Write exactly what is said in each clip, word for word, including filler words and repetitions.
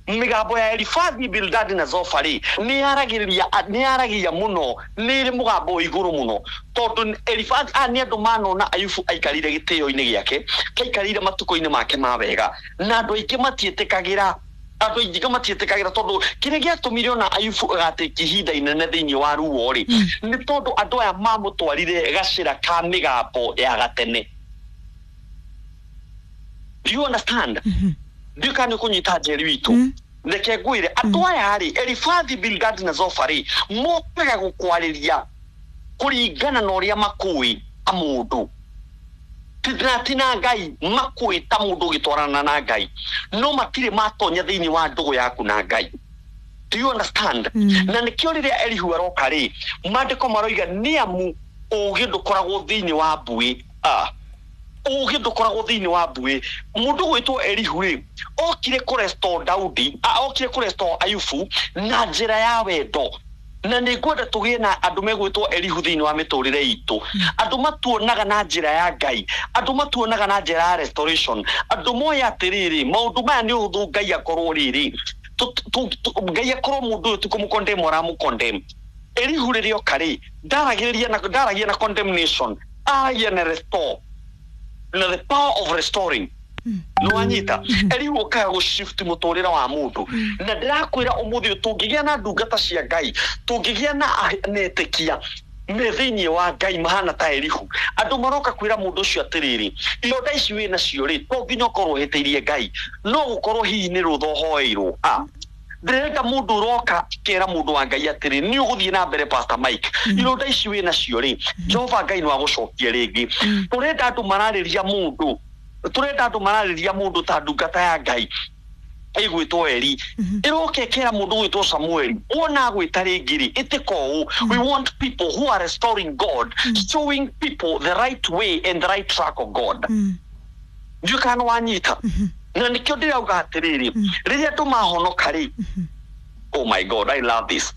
Mĩgambo ya Elifathi, Bildadi na Zofari nĩ yaragĩrĩria, nĩ yaragia mũno, nĩ ĩrĩ mũgambo wĩ igũrũ mũno, tondũ Elifathi a nĩ andũ manona Ayubu aikarire gĩtĩo-inĩ gĩake, aikarire matukũ-inĩ make ma wega, na andũ aingĩ matiĩtĩkagĩra, andũ aingĩ matiĩtĩkagĩra, tondũ kĩrĩa gĩatũmire ona Ayubu agatĩkia ihinda inene thĩinĩ wa ruo rĩ, nĩ tondũ andũ aya mamũtwarire gacĩra ka mĩgambo ya gatene. Do you understand? Ndiũ kana nĩ ũkũnyita, Njeri witũ? Reke ngwĩre, andũ aya rĩ, Elifathi, Bildadi na Zofari, mokaga gũkwarĩria kũringana na ũrĩa makũĩ ta mũndũ, na ti na Ngai. Makũĩ ta mũndũ ũgĩtwarana na Ngai, no matirĩ matonya thĩinĩ wa ndũgũ yaku na Ngai. Do you understand? Na nĩkĩo rĩrĩa Elihu aroka rĩ, maandĩko maroiga nĩ amu ũgĩ ndũkoragwo thĩinĩ wa mbuĩ. Ah, ũgĩ ndũkoragwo thĩinĩ wa mbuĩ. Mũndũ gwĩtwo Elihu rĩ, okire kũrestore Daudi, a, okire kũrestore Ayubu na njĩra ya wendo. Na nĩ ngwenda tũgĩe na andũ megwĩtwo Elihu thĩinĩ wa mĩtũrĩre itũ, andũ matuonaga na njĩra ya Ngai, andũ matuonaga na njĩra ya restoration, andũ moĩ atĩrĩrĩ, maũndũ maya nĩ ũhũthũ Ngai akorwo rĩrĩ tu- tu- tu- Ngai akorwo mũndũ ũyũ ti kũmũcondemn aramũcondemn. Elihu rĩrĩa oka rĩ, ndaragĩrĩria na ndaragia na condemnation, aragia na restore, na the power of restoring. Nĩwanyita? Elihu okaga gũshift mũtũrĩre wa mũndũ. Na ndĩrakwĩra ũmũthĩ ũyũ, tũngĩgĩa na ndungata cia Ngai, tũngĩgĩa na ah- na etĩkia me thĩinĩ wa Ngai mahana ta Elihu, andũ maroka kwĩra mũndũ ũcio atĩrĩrĩ, ironda ici wĩ nacio rĩ, to nginya ũkorwo ũhĩtĩirie Ngai, no gũkorwo hihi nĩ rũtha ũhoeirwo. Ah, ndĩrenda mũndũ ũroka akera mũndũ wa Ngai atĩrĩ, nĩ ũgũthiĩ na mbere, Pastor Mike, ironda ici wĩ nacio rĩ, Jehova Ngai nĩ wagũcokia rĩngĩ. Tũrenda andũ mararĩria mũndũ, tũrenda andũ mararĩria mũndũ ta ndungata ya Ngai ĩgwĩtwo Eri ĩroka ĩkera mũndũ gwĩtwo Samueli, wona agwĩta rĩngĩ rĩ, ĩtĩka ũũ. We want people who are restoring God, showing people the right way and the right track of God. Ndiũ kana wanyita? Na nĩkĩo ndĩrauga atĩrĩrĩ, rĩrĩa andũ mahonoka rĩ, oh my God, I love this.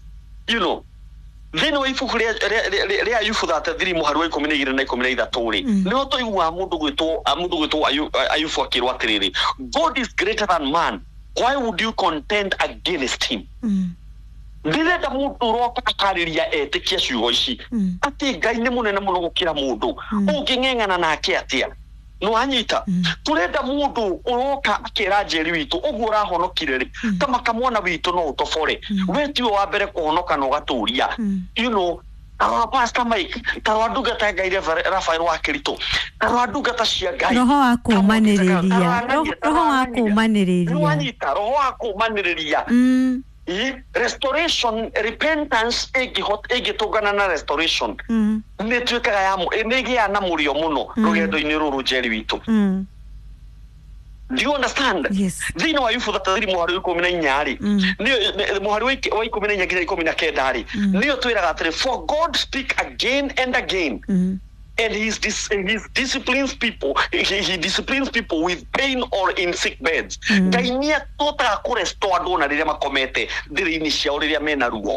you know thĩinĩ wa ibuku rĩa- rĩa- rĩa rĩa Ayubu thirty-three mũhari wa ikũmi na igĩrĩ na ikũmi na ithatũ rĩ, nĩho tũiguaga mũndũ gwĩtwo mũndũ gwĩtwo Ayu- Ayubu akĩrwo atĩrĩrĩ, "God is greater than man. Why would you contend against him?" Ndĩrenda mũndũ ũroka akarĩria etĩkia ciugo ici, atĩ Ngai nĩ mũnene mũno gũkĩra mũndũ, ũngĩng'eng'ana nake atĩa? Nĩwanyita? Tũrenda mũndũ ũroka akĩra Njeri witũ, ũguo ũrahonokire rĩ, kama kamwana witũ no ũtobore, we tiwe wa mbere kũhonoka na ũgatũria. you know tarora Pastor Mike, tarora ndungata ya Ngai Reverend Raphael wa Kĩritũ, tarora ndungata cia Ngai. Roho wa kũũmanĩrĩria. Roho roho wa kũũmanĩrĩria. Nĩwanyita? Roho wa kũũmanĩrĩria. Mm, Ĩ, restoration, repentance ĩngĩhota ĩngĩtũngana na restoration, mm, nĩ ĩtuĩkaga ya mũ- nĩ ĩgĩaga na mũrĩo mũno rũgendo-inĩ rũrũ, Njeri witũ. mm. Do you understand? Yes. Thĩinĩ wa Ayubu thirty-three mũhari wa ikũmi na inya rĩ, nĩyo- nĩ- mũhari wa ik- wa ikũmi na inya nginya ikũmi na kenda rĩ, nĩyo twĩraga atĩrĩ, "For God speak again and again, Mm. and he's dis he disciplines people, he, he disciplines people with pain or in sick beds." Ngai nĩ atotaga kũrestore andũ ona rĩrĩa makomete ndĩrĩ-inĩ ciao, rĩrĩa mena ruo.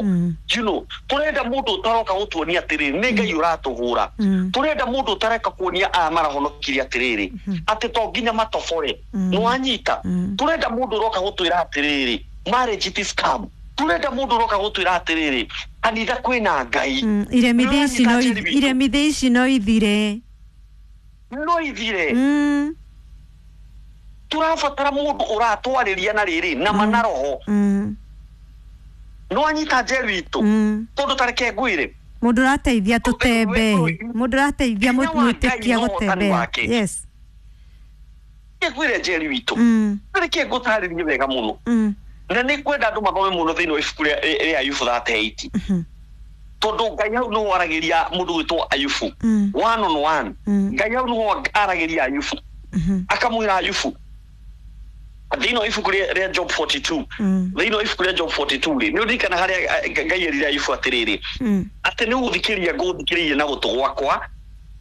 you know tũrenda mũndũ ũtaroka gũtuonia atĩrĩrĩ, nĩ Ngai ũratũhũra. Tũrenda mũndũ ũtareka kuonia aya marahonokirie atĩrĩrĩ, atĩ to nginya matobore. Nĩwanyita? Tũrenda mũndũ ũroka gũtwĩra atĩrĩrĩ, marriage it is scam. Tũrenda mũndũ ũroka gũtwĩra atĩrĩrĩ, kanitha kwĩna Ngai. Mm. Iremithia ici no Nĩwanyita, Njeri witũ? Iremithia ici no ithire. No ithire. Mm, Tũrabatara mũndũ ũratwarĩria na rĩrĩ na mana roho. mm, Nĩwanyita, Njeri witũ? mm. Tondũ tareke ngwĩre, Mũndũ ũrateithia tũtembe, mũndũ ũrateithia Hinya wa Ngai mwĩtĩkia na ũhotani gũtembea. wake. Yes. Reke ngwĩre, Njeri witũ, Mm, reke ngũtarĩrie wega mũno, mm, na nĩ ngwenda andũ mathome mũno thĩinĩ wa ibuku rĩa rĩa Ayubu thirty-eight, mhm, tondũ Ngai hau nĩho aragĩria mũndũ gwĩtwo Ayubu mm, one on one. Mm. Ngai hau nĩho aragĩria Ayubu, mhm, akamwĩra Ayubu thĩinĩ wa ibuku rĩa rĩa Job forty-two, mm, thĩinĩ wa ibuku rĩa Job forty-two rĩ, nĩ ũririkana harĩa eh, Ngai erire Ayubu atĩrĩrĩ, mm, atĩ nĩ gũthikĩrĩria ngũthikĩrĩria na gũtũ gwakwa,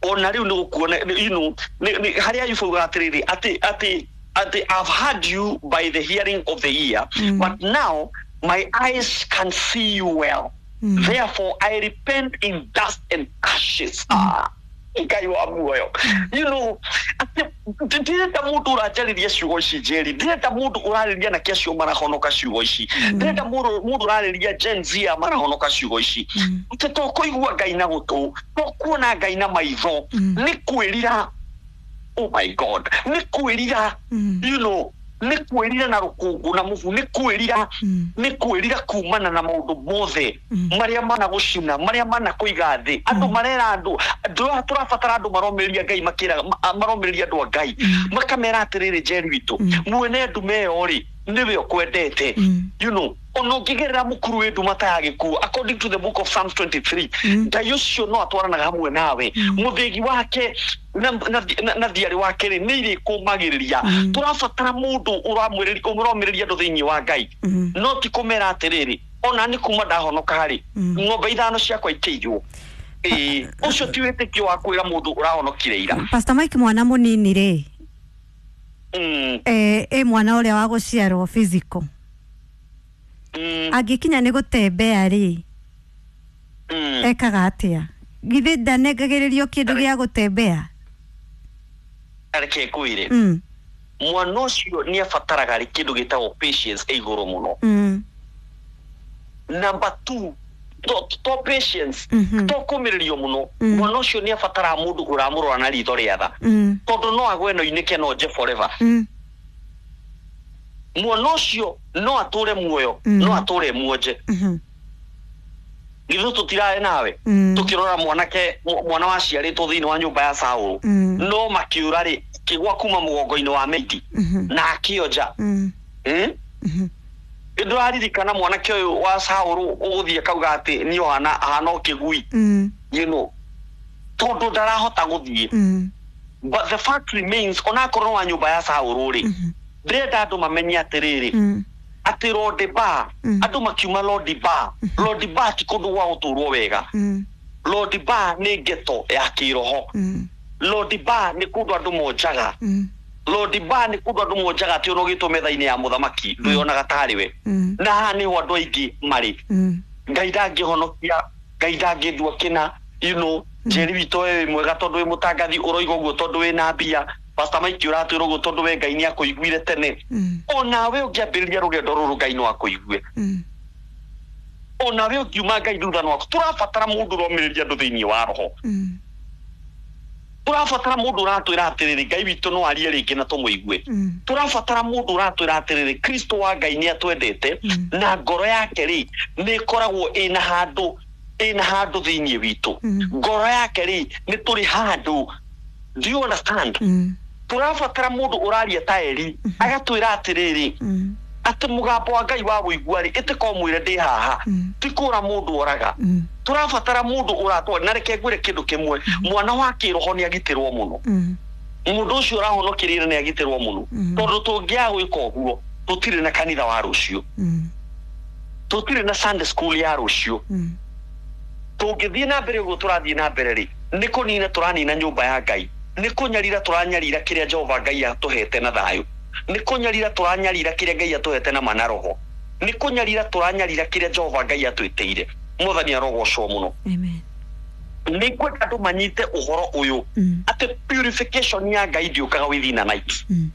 ona rĩu nĩ gũkuona, you know nĩ- nĩ- harĩa Ayubu augaga atĩrĩrĩ, atĩ atĩ atĩ "I've heard you by the hearing of the ear, Mm. but now my eyes can see you well. Mm. Therefore I repent in dust and ashes." Ah. Ngai wa muoyo, you know atĩ ndirenda mũndũ ũranjarĩria ciugo ici, Njeri. Ndirenda mũndũ ũrarĩria anake acio marahonoka ciugo ici. Ndirenda mũndũ mũndũ ũrarĩria Gen Z aya marahonoka ciugo ici, atĩ to kũigua Ngai na gũtũ, to kuona Ngai na maitho, nĩ kwĩrira. Oh my God, nĩ kwĩrira. You know nĩ kwĩrira na rũkũngũ na mũhu, nĩ kwĩrira, nĩ kwĩrira kumana na maũndũ mothe marĩa mana gũcina, marĩa mana kũiga thĩ. Andũ marera andũ, andũ tũrabatara andũ maromĩrĩria Ngai, makĩraga maromĩrĩria andũ a Ngai, makamera atĩrĩrĩ, Njeri witũ, mwene ndume ĩyo rĩ, nĩwe ũkwendete. You know ona ũngĩgerera mũkuru wĩ nduma ta ya gĩkuũ, according to the book of Psalms twenty-three, Ngai ũcio no atwaranaga hamwe nawe. Mũthĩgi wake na, na, na, na thiarĩ wake rĩ, nĩ irĩkũmagĩrĩria. Tũrabatara mũndũ ũramwĩrĩria, ũromĩrĩria andũ thĩinĩ wa Ngai, no ti kũmera atĩrĩrĩ, ona nĩ kuma ndahonoka rĩ, ng'ombe ithano ciakwa ikĩiywo. Ĩĩ, ũcio ti wĩtĩkio wa kwĩra mũndũ ũrahonokire ira. Pastor Mike, mwana mũnini rĩ, mm, eh, ĩ mwana ũrĩa wa gũciarwo physical, mm, angĩkinya nĩ gũtembea rĩ, mm. ekaga atĩa? Githĩ ndanengagĩrĩrio kĩndũ gĩa gũtembea? Reke ngwĩre, mm. mwana ũcio nĩ abataraga rĩ kĩndũ gĩtagwo patience ĩ igũrũ mũno. Mm. Number two, to, to patience, Mhm. to kũmĩrĩrio mũno. Mm. Mwana ũcio nĩ abataraga mũndũ ũramũrora na ritho rĩa tha, Mm. tondũ no agwe no inĩke no nje forever. Mm. Mwana ũcio no atũre muoyo, Mm. no atũre muonje. Mhm. Githĩ tũtirarĩ nawe Mm. tũkĩrora mwanake, mwana waciarĩtwo thĩinĩ wa nyũmba ya Saũlũ, Mm. no makĩũra rĩ, kĩgwa kuma mũgongo-inĩ wa meiti Mhm. na akĩonja. Mm. Mm? Mhm. Ndũraririkana mwanake ũyũ wa Saũlũ ũgũthiĩ akauga atĩ niĩ ahana ahana o kĩgui, Mm. you know tondũ ndarahota gũthiĩ. Mm. But the fact remains, onakorwo wa nyũmba ya Saũlũ rĩ, Mhm. ndĩrenda andũ mamenye atĩrĩrĩ, Mm. atĩ Lodibar, Mm. andũ makiuma Lodibar, Lodibar ti kũndũ gwa gũtũrwo wega. Mm. Lodibar nĩ ghetto ya kĩroho. Mm. Lodibar nĩ kũndũ andũ monjaga. Mm. Lodibar nĩ kũndũ andũ monjaga, atĩ ona ũgĩtwo metha-inĩ ya mũthamaki ndwĩyonaga tarĩ we. Mm. Na haha nĩho andũ aingĩ marĩ. Mm. Ngai ndangĩhonokia, Ngai ndangĩndua kĩna. you know Njeri witũ, we wĩ mwega tondũ wĩ mũtangathi, ũroiga ũguo tondũ wĩna mbia. Pastor Mike, ũratwĩra ũguo tondũ we Ngai nĩ akũiguire tene. Mm. Onawe ũngĩambĩrĩria rũgendo rũrũ, Ngai no akũigue. Mm. Onawe ũngiuma Ngai thutha no aku. Tũrabatara mũndũ ũromĩrĩria andũ thĩinĩ wa roho. Mm. Tũrabatara mũndũ ũratwĩra atĩrĩrĩ, Ngai witũ no arie rĩngĩ na tũmũigue. Mm. Tũrabatara mũndũ ũratwĩra atĩrĩrĩ, Kristo wa Ngai nĩ atwendete, Mm. na ngoro yake rĩ, nĩ ĩkoragwo ĩna handũ ĩna handũ thĩinĩ witũ. Mm. Ngoro yake rĩ, nĩ tũrĩ handũ. Do you understand? Mm. Tũrabatara mũndũ ũraria ta Eri, agatwĩra atĩrĩrĩ, Mm. atĩ mũgambo wa Ngai wa wũigua rĩ, ĩtĩka ũmwĩre ndĩ haha, Mm. ti kũra mũndũ oraga. Mm. Tũrabatara mũndũ ũratwara. Na reke ngwĩre kĩndũ kĩmwe, mwana wa kĩroho nĩ agitĩrwo mũno. Mm. Mũndũ ũcio ũrahonokĩrĩire nĩ agitĩrwo mũno, Mm. tondũ tũngĩaga gwĩka ũguo, tũtirĩ na kanitha wa rũciũ, Mm. tũtirĩ na Sunday school ya rũciũ. Mm. Tũngĩthiĩ na mbere ũguo tũrathiĩ na mbere rĩ, nĩ kũnina tũranina nyũmba ya Ngai, nĩ kũnyarira tũranyarira kĩrĩa Jehova Ngai atũhete na thayũ, nĩ kũnyarira tũranyarira kĩrĩa Ngai atũhete na mana roho, nĩ kũnyarira tũranyarira kĩrĩa Jehova Ngai atwĩtĩire. Mwathani arogocwo mũno. Amen. Nĩ ngwenda andũ manyite ũhoro ũyũ, Mm. atĩ purification ya Ngai ndĩũkaga within a night. Mm.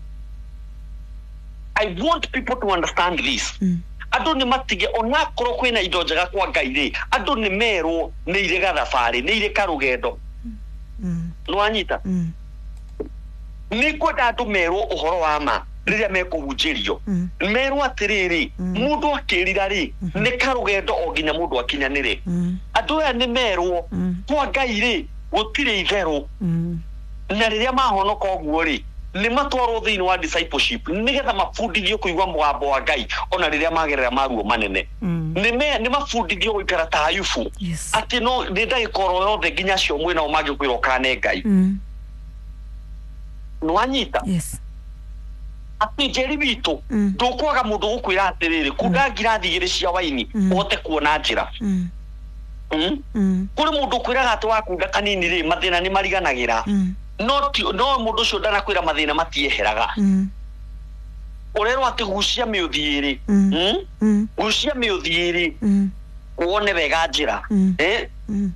I want people to understand this. Mm. Andũ nĩ matige, onakorwo kwĩna indo njega kwa Ngai rĩ, andũ nĩ merwo nĩ irĩ gathabarĩ, nĩ irĩ karũgendo. Mm. Nĩwanyita? Mm. Nĩ ngwenda andũ merwo ũhoro wa ma rĩrĩa mekũhunjĩrio, Mm. merwo atĩrĩrĩ, Mm. mũndũ akĩrira rĩ, nĩ karũgendo o nginya mũndũ akinyanĩre. Mm. Andũ aya nĩ merwo, Mm. kwa Ngai rĩ, gũtirĩ itherũ. Mm. Na rĩrĩa mahonoka ũguo rĩ, nĩ matwarwo thĩinĩ wa discipleship nĩgetha mabundithio kũigua mũgambo wa Ngai ona rĩrĩa magerera maruo manene. Mm. Nĩ me- nĩ mabundithio gũikara ta Ayubu, Yes. atĩ no nĩ ndagĩka oro yothe nginya acio mwĩnao mangĩkwĩra ũkane Ngai. Mm. Nĩwanyita? Yes. Atĩ Njeri witũ, Mm. ndũkwaga mũndũ gũkwĩra atĩrĩrĩ, kunda ngirathi igĩrĩ cia waini, Mm. ũhote kuona njĩra. Mm. Mm? Mm. Kũrĩ mũndũ ũkwĩraga atĩ wakunda kanini rĩ, mathĩna nĩ mariganagĩra. Mm. No ti- no mũndũ ũcio ndanakwĩra mathĩna matieheraga. Mm. Ũrerwo atĩ gucia mĩũthiĩ rĩ, Mm. Mm? Mm. Gucia mĩũthiĩ rĩ, Mm. wone wega njĩra. Mm. Eh? Mm.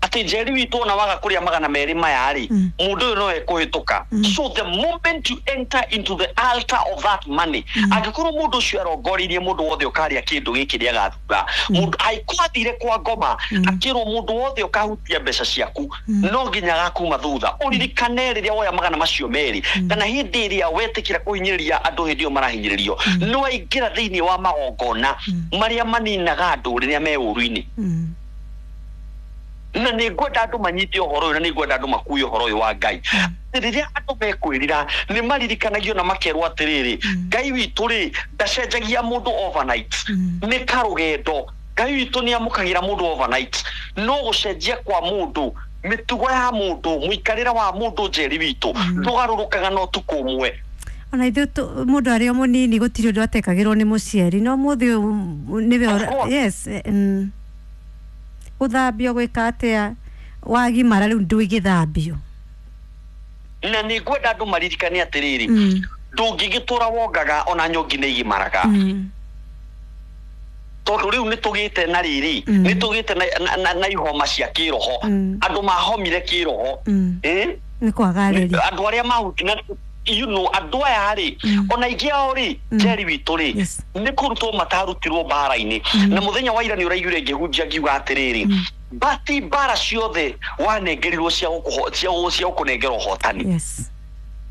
Atĩ Atĩ Njeri witũ ona waga kũrĩa magana merĩ maya rĩ, Mm. mũndũ ũyũ no ekũhĩtũka. So the moment you enter into the altar of that money, angĩkorwo mũndũ ũcio arongoreirie mũndũ wothe ũkarĩa kĩndũ gĩkĩ nĩagathura mũndũ, angĩkorwo athire kwa ngoma akĩrwo mũndũ wothe ũkahutia mbeca ciaku no nginya agakuma thutha. Ũririkane rĩrĩa woya magana macio merĩ, kana hĩndĩ ĩrĩa wetĩkĩra kũhinyĩrĩria andũ hĩndĩ ĩyo marahinyĩrĩrio, nĩ waingĩra thĩinĩ wa magongona marĩa maninaga andũ rĩrĩa me ũru-inĩ. Mm. Na nĩ ngwenda andũ manyite ũhoro ũyũ, na nĩ ngwenda andũ makue ũhoro ũyũ wa Ngai. Rĩrĩa andũ mekwĩrira, nĩ maririkanagio na makerwo atĩrĩrĩ, Ngai witũ rĩ ndacenjagia mũndũ overnight. Nĩ karũgendo. Ngai witũ nĩ amũkagĩra mũndũ overnight, no gũcenjia kwa mũndũ, mĩtugo ya mũndũ, mũikarĩre wa mũndũ, Njeri witũ, ndũgarũrũkaga na ũtukũ ũmwe. Ona ithuĩ tũ- mũndũ arĩ o mũnini gũtirĩ ũndũ atekagĩrwo nĩ mũciari, no mũthĩ ũyũ nĩwe Of ũra- course. Yes, eh, mm. Gũthambio gwĩka atĩa wagimara rĩu ndũigĩthambio. Na nĩ ngwenda andũ maririkane atĩrĩrĩ, Mm. ndũngĩgĩtũra wongaga, ona nyongi nĩ igimaraga. Mm. Tondũ rĩu nĩ tũgĩte na rĩrĩ, Mm. nĩ tũgĩte na, na, na, na ihoma cia kĩroho. Mm. Andũ mahomire kĩroho. Mm. Eh? Nĩ kwaga reri. Andũ arĩa mahuti na you know andũ aya rĩ, Mm. ona aingĩ ao rĩ, Mm. Njeri witũ rĩ, Yes. nĩ kũrutwo matarutirwo mbara-inĩ. Na mũthenya wa ira nĩ ũraiguire ngĩhunjia ngiuga atĩrĩrĩ, bati mbara ciothe wanengerirwo cia gũkũho- cia gũ- cia gũkũnengera ũhotani. Yes.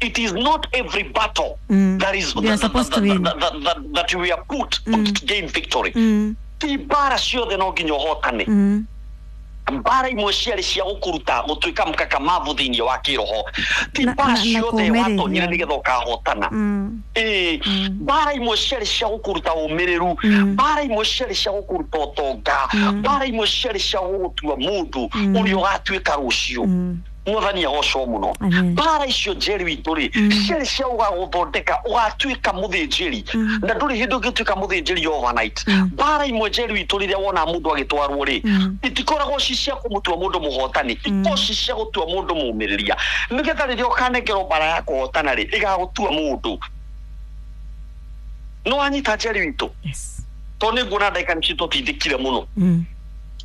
It is not every battle Mm. that is You are that, supposed to that, win. that, that, that, that we are put to gain victory. Mm. Ti mbara ciothe no nginya ũhotane. Mm. Mbara imwe ciarĩ cia gũkũruta gũtuĩka mũkakamavu thĩinĩ wa kĩroho. Ti Na- mbara na- na ciothe kũũmĩrĩria. watonyire nĩgetha ũkahotana. Mm. Ĩĩ, mbara imwe ciarĩ cia gũkũruta ũmĩrĩru, Mm. mbara imwe ciarĩ cia gũkũruta ũtonga, mbara imwe ciarĩ cia gũgũtua mũndũ ũrĩa ũgatuĩka rũciũ. Mm. Mwathani agocwo mũno. Amen. Mbara icio, Njeri witũ rĩ, ciarĩ cia ũgagũthondeka ũgatuĩka mũthĩnjĩri, na ndũrĩ hĩndĩ ũngĩtuĩka mũthĩnjĩri overnight. Mbara imwe, Njeri witũ, rĩrĩa wona mũndũ agĩtwarwo rĩ, itikoragwo ci cia kũmũtua mũndũ mũhotani, ikoragwo ci cia gũtua mũndũ mũmĩrĩria, nĩgetha rĩrĩa ũkanengerwo mbara ya kũhotana rĩ, ĩgagũtua mũndũ. No wanyita, Njeri witũ? Yes. Tondũ nĩ nguona ndagĩka nĩ citũtindĩkire mũno. Mm.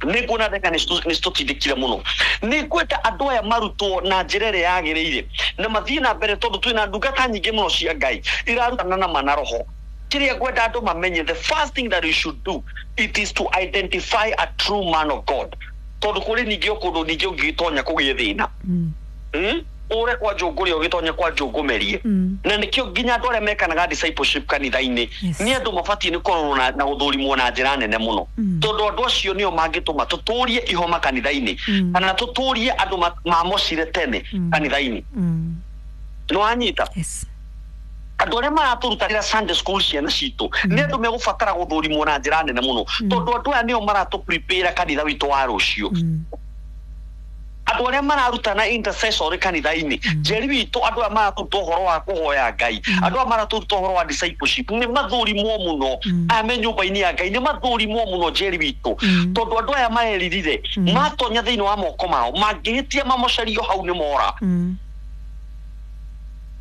Nĩ nguona ndagĩka nĩ citũtindĩkire mũno. Nĩ ngwenda andũ aya marutwo na njĩra ĩrĩa yagĩrĩire na mathiĩ na mbere, tondũ twĩna ndungata nyingĩ mũno cia Ngai irarutana na mana roho. Kĩrĩa ngwenda andũ mamenye, the first thing that you should do, it is to identify a true man of God, tondũ kũrĩ ningĩ o kũndũ ningĩ ũngĩgĩtonya kũgĩe thĩna. Mm. Mm? Ũre kwa njũngũrĩa ũgĩtonya kwa njũngũmerie. Mm. Na nĩkĩo nginya andũ arĩa mekanaga discipleship kanitha-inĩ Yes. nĩ andũ mabatiĩ nĩ kũrorwo na, na gũthũrimwo na njĩra nene mũno, Mm. tondũ andũ acio nĩo mangĩtũma tũtũrie ihoma kanitha-inĩ, Mm. kana tũtũrie andũ ma- mamocire tene Mm. kanitha-inĩ. Mm. Nĩ wanyita? Yes. Andũ arĩa maratũrutagĩra Sunday school ciana citũ nĩ andũ megũbatara gũthũrimwo na njĩra nene mũno, tondũ andũ aya nĩo maratũ prepare kanitha witũ wa rũciũ. Mm. Andũ arĩa mararutana intercessory kanitha-inĩ, Njeri witũ, andũ aya maratũruta ũhoro wa kũhoya Ngai, andũ aya maratũruta ũhoro wa discipleship, nĩ mathũrimwo mũno. Aya me nyũmba-inĩ ya Ngai nĩ mathũrimwo mũno, Njeri witũ, tondũ andũ aya mareririre matonya thĩinĩ wa moko mao mangĩhĩtia mamocerio hau nĩ mora. Mm.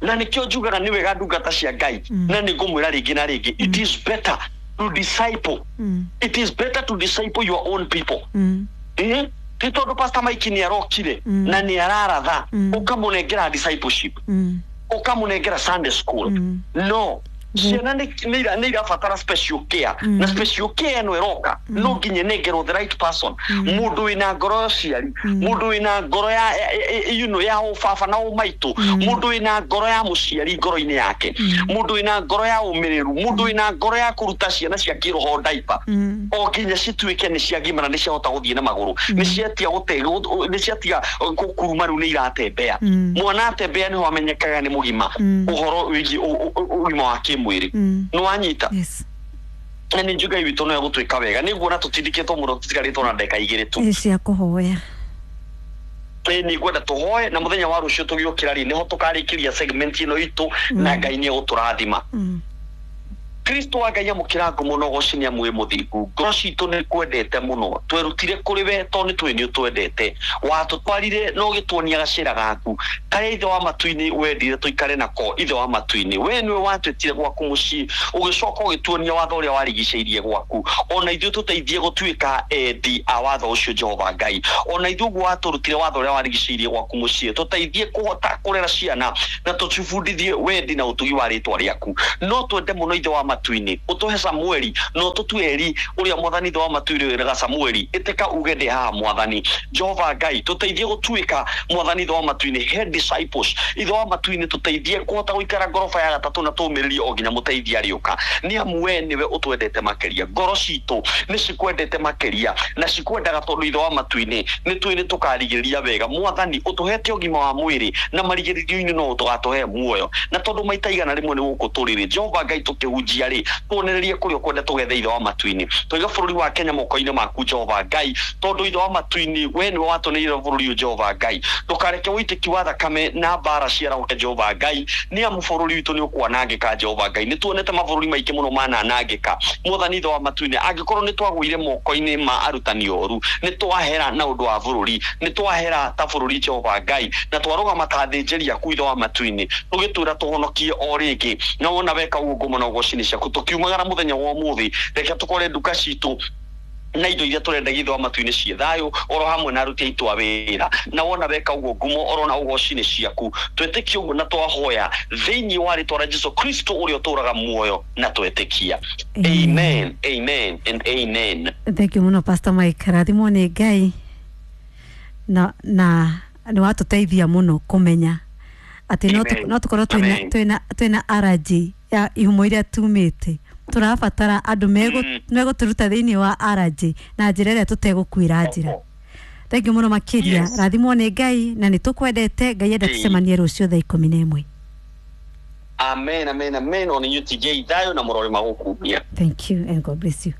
Na nĩkĩo njugaga nĩ wega ndungata cia Ngai, na nĩ ngũmwĩra rĩngĩ na rĩngĩ, it is better to disciple. Mm. It is better to disciple your own people. Mm. Eh? Ti tondũ Pastor Mike nĩ arokire Mm. na nĩ araratha, Mm. ũkamũnengera discipleship, Mm. ũkamũnengera Sunday school. Mm. No ciana nĩ nĩ ira- nĩ irabatara special care, Mm. na special care ĩno ĩroka no nginya ĩnengerwo the right person, mũndũ wĩna ngoro ya ũciari, mũndũ wĩna ngoro ya ya- ya- you know, ya ũbaba na ũmaitũ, mũndũ wĩna ngoro ya mũciari ngoro-inĩ yake, mũndũ wĩna ngoro ya ũmĩrĩru, mũndũ wĩna ngoro ya kũruta ciana cia kĩroho ndaipa, Mm. o nginya cituĩke nĩ ciagimara, nĩ ciahota gũthiĩ na magũrũ, nĩ ciatia gũte nĩ ciatiga kũruma, rĩu nĩ iratembea. Mm. Mwana atembea nĩho amenyekaga nĩ mũgima Mm. ũhoro wĩgiĩ ũ- ũ- ũgima wa kĩmwĩrĩ. Mm. Nĩ wanyita? Yes. Na nĩ njuga witũ no egũtuĩka wega. Nĩ nguona tũtindĩkĩtwo mũno, tũtigarĩtwo na ndagĩka igĩrĩ tu. Ĩ cia kũhoya. Ĩ, nĩ ngwenda tũhoe, na mũthenya wa rũciũ tũgĩũkĩra rĩ, nĩho tũkarĩkĩria segment ĩno itũ, na Ngai nĩ egũtũrathima. Mm. Kristo wa Ngai amũkĩra ngumo na ũgoci nĩ amu wĩ mũthingu. Ngoro citũ nĩ kwendete mũno, twerutire kũrĩ we tondũ nĩ tũĩ nĩ ũtwendete. Watũtwarire na ũgĩtuonia gacĩra gaku karĩa Ithe wa matu-inĩ wendire tũikare nako. Ithe wa matu-inĩ, we nĩwe watwĩtire gwaku mũciĩ, ũgĩcoka ũgĩtuonia watho ũrĩa warigicĩirie gwaku. Ona ithuĩ tũteithie gũtuĩka endi a watho ũcio, Jehova Ngai. Ona ithuĩ ũguo watũrutire watho ũrĩa warigicĩirie gwaku mũciĩ, tũteithie kũhota kũrera ciana na tũcibundithie wendi na ũtugi wa rĩtwa rĩaku. No twende mũno, Ithe wa matu-inĩ, ũtũhe Samueli no tũtue Eli ũrĩa Mwathani Ithe wa matu-inĩ wĩraga Samueli, ĩtĩka uge ndĩ haha Mwathani. Jehova Ngai, tũteithie gũtuĩka, Mwathani Ithe wa matu-inĩ, head disciples. Ithe wa matu-inĩ, tũteithie kũhota gũikara ngoroba ya gatatũ na tũmĩrĩrie o nginya mũteithia arĩũka, nĩ amu we nĩwe ũtwendete makĩria. Ngoro citũ nĩ cikwendete makĩria na cikwendaga, tondũ Ithe wa matu-inĩ nĩ tũĩ nĩ tũkarigĩrĩria wega. Mwathani, ũtũhete ũgima wa mwĩrĩ na marigĩrĩrio-inĩ no tũgatũhe muoyo, na tondũ maita igana rĩmwe nĩ gũkũ tũrĩrĩ, Jehova Ngai, tũkĩhunjia rĩ, tuonererie kũrĩa ũkwenda tũgethe. Ithe wa matu-inĩ, tũiga bũrũri wa Kenya moko-inĩ maku, Jehova Ngai, tondũ Ithe wa matu-inĩ, we nĩwe watũneire bũrũri ũyũ. Jehova Ngai, ndũkareke ũitĩki wa thakame na mbara ciarahũke, Jehova Ngai, nĩ amu bũrũri witũ nĩ ũkwanangĩka. Jehova Ngai, nĩ tuonete mabũrũri maingĩ mũno mananangĩka. Mwathani Ithe wa matu-inĩ, angĩkorwo nĩ twagũire moko-inĩ ma arutani oru, nĩ twahera na ũndũ wa bũrũri, nĩ twahera ta bũrũri, Jehova Ngai, na twarũgama ta athĩnjĩri aku, Ithe wa matu-inĩ, tũgĩtwĩra tũhonokie o rĩngĩ. Na wona weka ũguo, ngumo na ũgoci nĩ ciaku. Tũkiumagara mũthenya wa ũmũthĩ, reke tũkore nduka citũ na indo iria tũrendagia, Ithe wa matu-inĩ, ciĩ thayũ, oro hamwe na aruti aitũ a wĩra. Na wona weka ũguo, ngumo oro na ũgoci nĩ ciaku. Twĩtĩkie ũguo na twahoya thĩinĩ wa rĩtwa rĩa Jesu Kristo ũrĩa ũtũũraga muoyo na twetĩkia. Amen, amen and amen. Thank you muno, Pastor Mike. Rathimwo nĩ Ngai na na nĩ watũteithia mũno kũmenya atĩ no tũ- Amen. no tũkorwo twĩna Amen. twĩna twĩna allergy ya ihumo iria tumĩte. Tũrabatara andũ megũ- Mm. megũtũruta thĩinĩ wa allergy na njĩra ĩrĩa tũtegũkuĩra njĩra. Thank you mũno makĩria. Yes. Rathimwo nĩ Ngai na nĩ tũkwendete. Ngai enda Ĩĩ. tũcemanie rũciũ thaa ikũmi na ĩmwe. Amen, amen, amen. Ona inyuĩ tigei thayũ na mũrore magũkumia. Thank you and God bless you.